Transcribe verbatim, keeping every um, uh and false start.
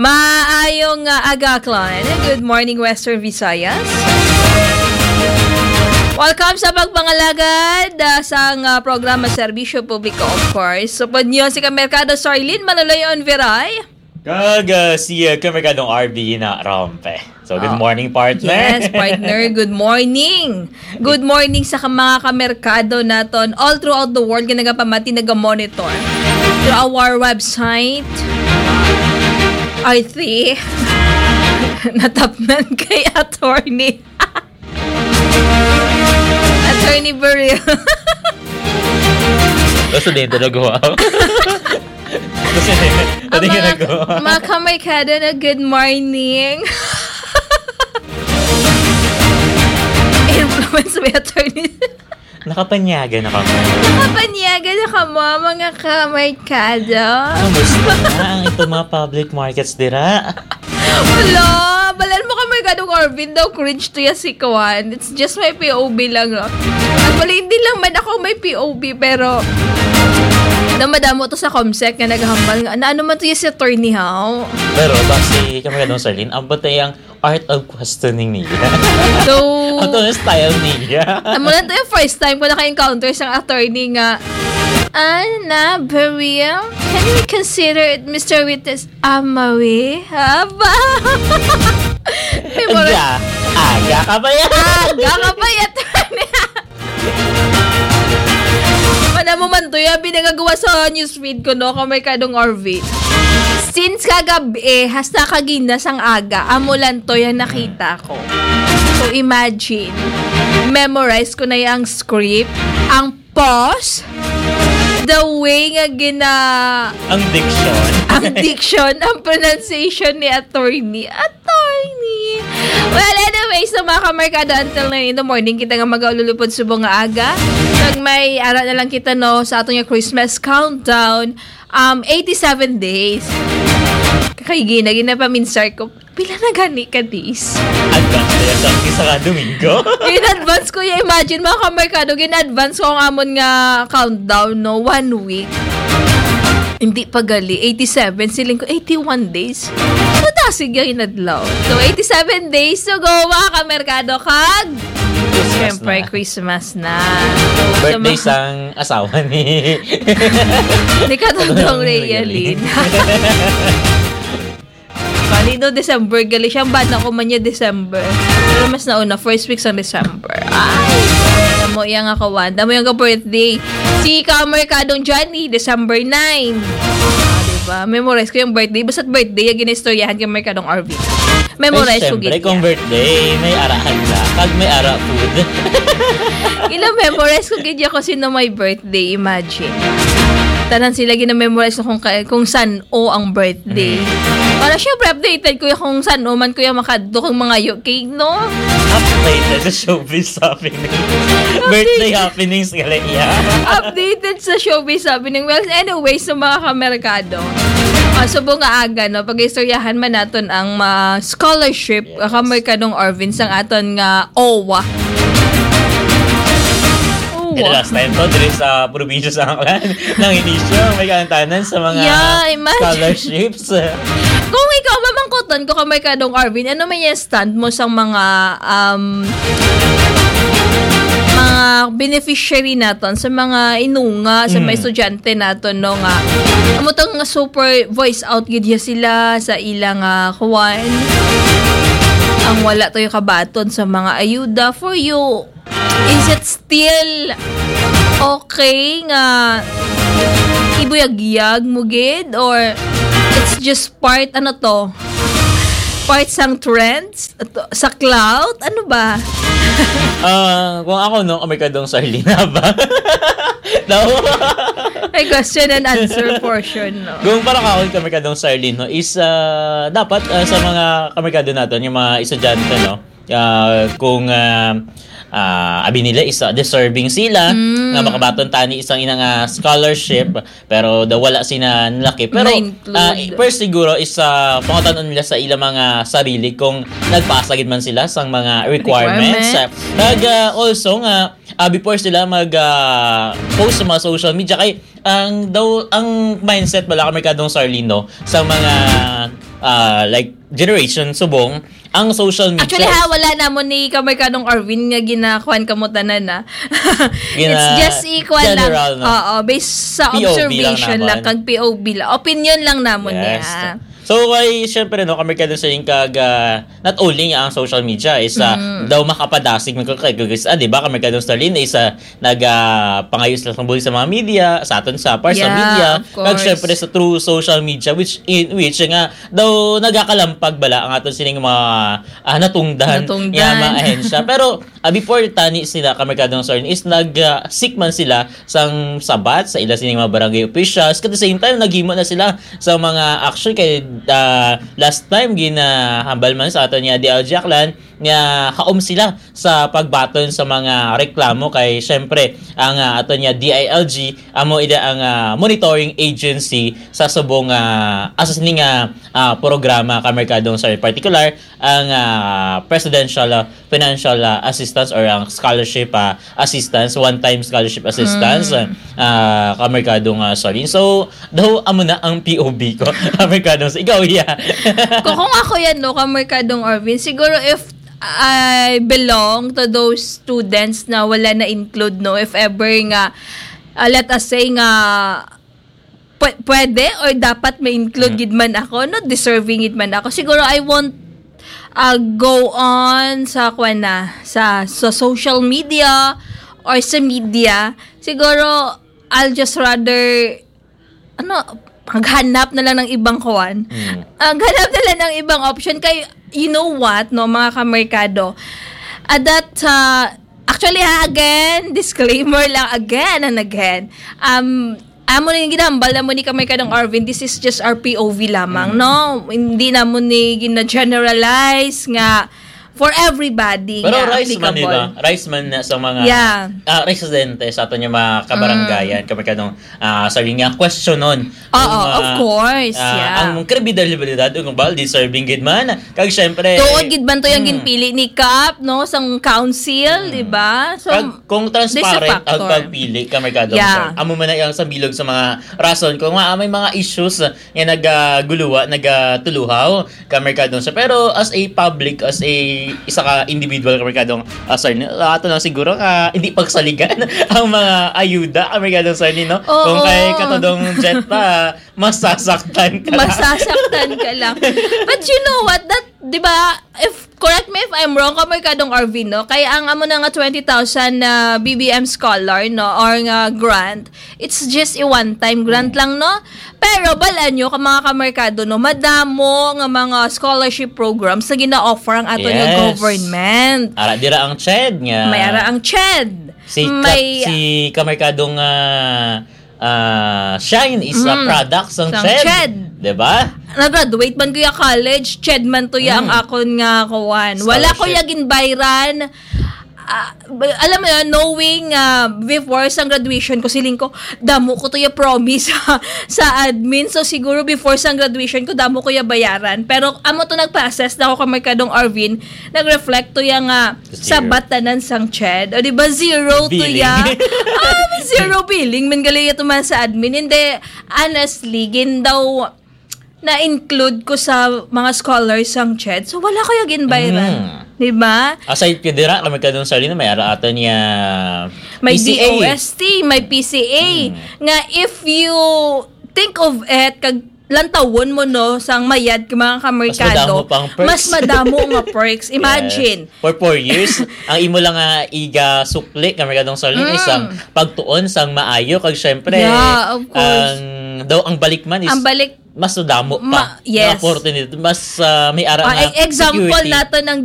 Maayong, ah, aga, Clan. Good morning, Western Visayas. Welcome sa pagpangalagad, ah, sang, ah, programa Serbisyo Publiko, of course. Supod niyo si Kamerkado Sarlene Manuloy Onviray. Kag, ah, si, ah, Kamerkadong R B na Rompe. So, good Oh. morning, partner. Yes, partner. Good morning. Good morning sa ka-, mga kamerkado naton all throughout the world nga nagapamati, naga-monitor through our website. Arthi, natapnan kay attorney. Attorney Burrell. Basta din talaga, wow. Basta din, Ang pati mga, ginagawa. mga kamerkado na good morning. Influence by attorney. Nakapanyaga na kamo. Nakapanyaga na kamo, mga kamerkado. Kamusta na ang itong mga public markets dira? Wala! Balan mo ka, Merkadong Arvin daw, cringe to ya si Kwan. It's just my P O V lang, no? Actually, hindi lang man ako may P O V, pero madamo-damo to sa Comsec nga naghambal nga, "Na ano man to ya si Attorney Hao?" Pero basi ka, Merkadong Sarlene, ang batay ang art of questioning niya. So, Ato ang style niya. Amo lang to yung first time ko naka-encounter sa attorney nga, "Ah, na, Beryl, can we consider it, Mister Witness?" Amawi? Haba? May mura- Aga. Aga ka ba yan? Aga ka ba yan? Mana mo man to, ya, binangagawa sa newsfeed ko, no, kung may kadong R V. Since kagabi, hasta kagina sang aga, amo lang to yung nakita ko. So, imagine, memorize ko na yung script, ang pause, the way nga gina- Ang diction. ang diction, ang pronunciation ni attorney. Attorney! Well, anyway, so mga kamerkado, until nine in the morning, kita nga mag-aululupod subong nga aga. Kag may ara na lang kita, no, sa aton nga Christmas countdown, um, eighty-seven days. Kay gina, ginapaminsar ko, pila na gani ka days? Advance na yan sa isa ka Domingo. In advance ko, ya, imagine, mga kamerkado, gin-advance ko ang amon nga countdown, no? One week. Hindi pa gali. Eighty-seven, siling ko, eighty-one days. Ano ta, sige, inadlaw. So, eighty-seven days to go, mga kamerkado, kag Christmas siyempre, na. Christmas na. So, sa Birthday mga sang asawa ni Ni Katodong Katodong Realin. Realin. Bali, no, December, gali siya. Ang bana ko man niya, December. Pero mas nauna, first week sa December. Ay, damo yang ako, Wanda. Damo yang ka-birthday. Si Kamerkadong Johnny, December nine. Ah, diba? Memorize ko yung birthday. Basta't birthday, yung ginaistoryahan kay Merkadong R V. Memorize Ay, ko syempre, gid kung niya. Birthday, may arahan na. Pag may ara food. Ila, memorize ko gid niya kung sino may birthday. Imagine. Tanan sila gina-memorize ko kung, ka- kung san o ang birthday. Mm. Para syempre, updated ko yung kung san o man ko yung makadto kung mga U K, no? Updated sa showbiz happening. Updated. Birthday happenings, galing niya. Updated sa showbiz happening. Well, anyway, sa mga kamerkado, ah, subong nga aga, no, pag-istoryahan man naton ang mga scholarship, Yes. ah, kamerkadong Arvin, sang aton nga O W A. O W A. Dili last time to, dili sa probinsya sa Aklan. Nang inisyo, may kaantanan sa mga Yeah, imagine. Scholarships. Kung ikaw, mamangkuton ko, kamerkadong Arvin, ano man yung stand mo sa mga, um, mga beneficiary naton, sa mga inunga, sa mga Mm. estudyante naton, no, nga amo tang super voice out gid ya sila sa ilang, ah, kuwan. Ang wala tayo kabaton sa mga ayuda for you. Is it still okay nga ibuyagyag mo gid, or it's just part, ano to? Part sang trends? Ato, sa clout? Ano ba? Ah, kung ako, no, kamerkadong Sarlene ba? No? May question and answer portion, no? Kung para ka, kamerkadong Sarlene, no, is, ah, dapat, ah, sa mga kamerkado naton, yung mga estudyante, no, ah, kung, ah, ah, abi nila is, ah, deserving sila Mm. nga makabaton tani isang inang, ah, scholarship, pero daw wala sila nalaki. Pero, Na-include. ah, first siguro is, ah, pangutanon nila sa ilang mga sarili kung nagpasa gid man sila sang mga requirements. Requirements. Ah, kag, ah, also nga, ah, before sila mag, ah, post sa mga social media, kay ang daw, ang mindset pala, kamerkadong Sarlene, no, sa mga ah, like, generation subong, ang social media Actually, ha, is wala namon ni Kamerkadong Arvin nga ginakuan kamo tanan, ah. It's Gina-, just ikuan lang. general, no? Oo, based sa P O V lang observation lang, naman. kag P O V lang. Opinion lang namon Yes. niya. So, kay, syempre, no, Kamerkadong Arvin, kag, ah, not only nga ang social media is, ah, Mm. daw makapadasig man ko kay, kay, ah, di ba, Kamerkadong Arvin is, ah, nag, ah, pangayo sila sang bulig sa mga media, sa aton sa, para sa Yeah, media, of kag course. syempre sa through social media, which, in which nga daw nagakalampag bala ang aton sining mga, ah, natungdan Natungdan. nga mga ahensya. Pero, ah, before tani sila, Kamerkadong Arvin, is nag, ah, seek man sila sang sabat sa ila sining mga barangay officials. At the same time, naghimo na sila sa mga action kay, ah, last time ginahambal man sa aton nga D L G Aklan nga kaom sila sa pagbaton sa mga reklamo kay syempre ang, ah, aton nga D I L G amo ida ang, ah, monitoring agency sa subong, ah, asa sini nga, ah, programa Kamerkadong Arvin, particular ang, ah, presidential, ah, financial, ah, assistance or ang scholarship, ah, assistance, one-time scholarship assistance, Mm. ah, Kamerkadong Arvin. So, daw amo na ang P O V ko. Kamerkadong Arvin. Ikaw, iya. Kung, kung ako yan, no, Kamerkadong Arvin, siguro if I belong to those students na wala na include, no, if ever nga, ah, let us say nga, pwe-, pwede or dapat ma-include Mm. gid man ako, no, deserving gid man ako. Siguro I won't, ah, go on sa, kwan na, sa, sa social media or sa media. Siguro, I'll just rather, ano, maghanap na lang ng ibang kuwan. Mm. Maghanap na lang ng ibang option. Kay, you know what, no, mga kamerkado? At that, uh, actually, ha, again, disclaimer lang, again and again. Um, amo na yung ginahambal na mo ni Kamerkadong Arvin, this is just our P O V lamang, Mm. no? Hindi na mo ni gina-generalize nga for everybody Pero nga rice man, di applicable. ba? Rice man na sa mga, Yeah. ah, residente sa aton nga mga kabaranggayan, Mm. Kamerkadong, ah, sabi nga, questionon Oo, ang, of ah, course, ah, yeah. ang kredibilidad o kung ba deserving gid man. Kag syempre, Tuod gid man to yung mm. ginpili ni Kap, no, sang council, Mm. di ba? So, Kag kung there's a transparent ang factor. pagpili, Kamerkadong Yeah. Arvin, amo man na ang sa bilog sa mga rason kung nga may mga issues nga nagaguluwa, nagatuluhaw, Kamerkadong Arvin. Pero as a public, as a isa ka individual, Kamerkadong, ah, Arvin, ato lang siguro nga hindi pagsaligan ang mga ayuda, Kamerkadong Arvin, no? Oo. Kung kay Katodong Jet pa, masasaktan ka lang. Masasaktan ka lang. But you know what? That, di ba, if, correct me if I'm wrong, Kamerkadong Arvin, no? Kaya ang amo na nga twenty thousand na B B M scholar, no? Or nga grant, it's just a one-time grant Mm. lang, no? Pero balaan nyo ka mga kamerkado, no, madamo nga mga scholarship programs na gina-offer ang aton nga Yes. government. Ara dira ang ched nga May ara ang ched. si Ka-, May si kamerkadong, ah, ah, Shine is a Mm. product sang Sang ched. ched. Diba? Nag-graduate man ko ya college, ched man to ya ang Mm. akon nga kuwan. Wala ko Scholarship. ya ginbayran. Ah, ba-, alam mo yun, knowing, ah, before sang graduation ko, siling ko, damo ko to ya promise sa admin. So, siguro before sang graduation ko, damo ko ya bayaran. Pero amo to nagpa-assess na ako kay Merkadong Arvin, nag-reflect to ya nga Zero. sabat tanan sang ched. O, di ba? Zero to Billing. ya. Ah, zero billing. Man gali ya to man sa admin. Hindi, honestly, gin daw na-include ko sa mga scholars sang ched. So, wala ko ya ginbayran. Mm. Di ba? Aside ko dira, kami kadong Sarlene, may ara ato niya May P C A. D O S T, may P C A. Mm. Nga if you think of it, kag lantawon mo, no, sang mayad ka mga Mas kamerkado, madamo pang perks. mas madamo nga perks. Imagine. Yes. For four years, ang imo lang nga iga sukli, kamerkadong Sarlene, Mm. isang pagtuon sang maayo, kag syempre, Yeah, of course. ang, daw ang balik man is Ang balik mas madamo pa Ma-, nga yes. opportunity, mas, ah, may ara Ah, nga e-, example security. nato ng